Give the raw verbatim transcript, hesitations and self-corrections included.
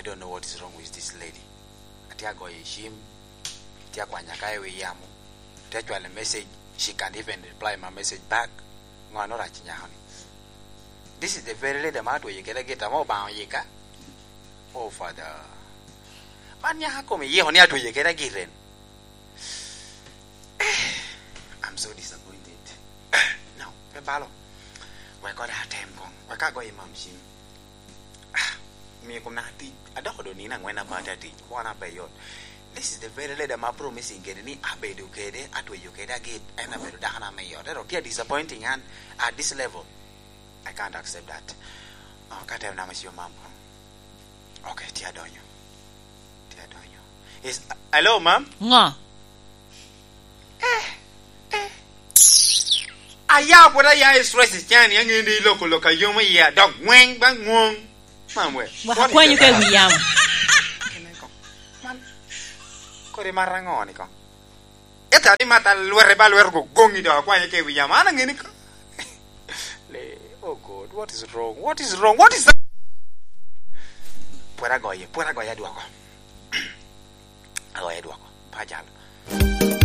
I don't know what is wrong with this lady. Atye agoyo cim, atye akwanya ka i wi yamo, atye acwalo message, she can't even reply my message back. Ŋo arac i nyako ni? This is the very lady ma atweyo kede agit ame Obaŋa oyika. Oh, Father. Man nyaka kome yiko ni atweyo kede agit en. I'm so disappointed. No, pe balo. Wek koda atem koŋ. Wek agoyo i mam cim. Ah, omio kom naka tic. Adoko do nino aŋwen apata tic. Kwana pe yot. This is the very lady ma promising kede ni abedo kede, atweyo kede agit. En abedo dako na me yot. Ero tia disappointing an at this level. I can't accept that. Oh, ka tem nama ci omam. Okay, tye adonyo. Tye adonyo. Is, hello, ma'am? Ŋo? Eh, eh. Aya pwod aya i stress cani, aŋeni iloko lok a yomo iya, dok ŋweny ba ŋwong. Ma'am we. Waka kwanyo ka i wi yamo. Kene ko. Man, kodi mara ŋo ni ko? Ita ni mata lwete ba lwete go goŋi do akwanye ke wi yamo. An aŋeni ko. Le, oh God, what is wrong? What is wrong? What is that? Pwera goye, pwera goye adwoko. Agoye adwoko. Pajal.